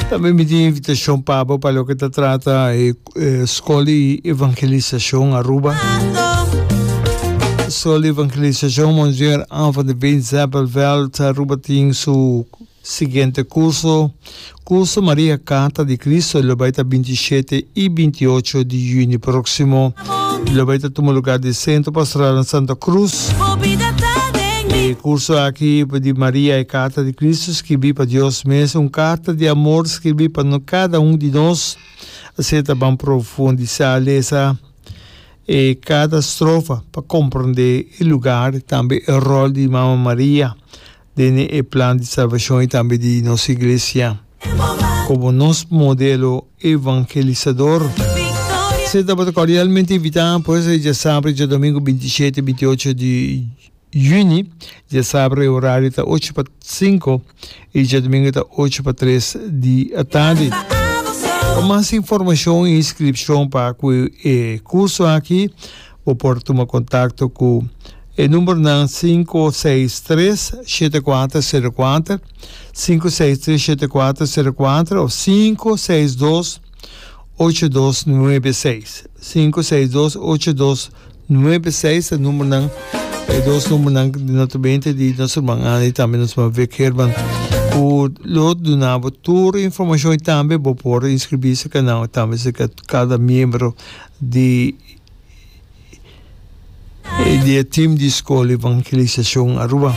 Tambe mi tin invitacion pa bo pa loke ta trata e Skol di Evangelisacion Aruba. Skol di Evangelisacion Monsignor Anne van de Veen Zeppelveld Aruba tin su siguiente curso, Curso Maria Carta di Cristo lo bai ta 27 y 28 di juni proximo. Lo bai ta tuma lugar di Centro Pastoral na Santa Cruz. E curso aki di Maria e Carta di Cristo skibi pa Dios mes, un carta di amor skibi pa cada un di nos. Asina ta ban profundisa lesa e cada strofa pa comprende e lugar tambe e rol di Mama Maria den e plan di salvacion y tambe di nos Iglesia como nos modelo evangelisador. Asina tabata cordialmente invita pues e djasabra y djadomingo 27 y 28 di juni. Djasabra e horario ta ocho pa cinco y djadomingo ta ocho pa tres di atardi. Pa mas informacion y inscripcion pa cu e curso aki bo por tuma contacto cu e numbernan 563 7404, 563 7404 of 562 8296. 562 8296 e numbernan, e dos numbernan di naturalmente di nos ruman Ana y tambe nos ruman Vic Herman cu lo duna bo tur informacion y tambe bo por inscribi cerca nan tambe cerca cada miembro di di e team di School Evangelisacion Aruba.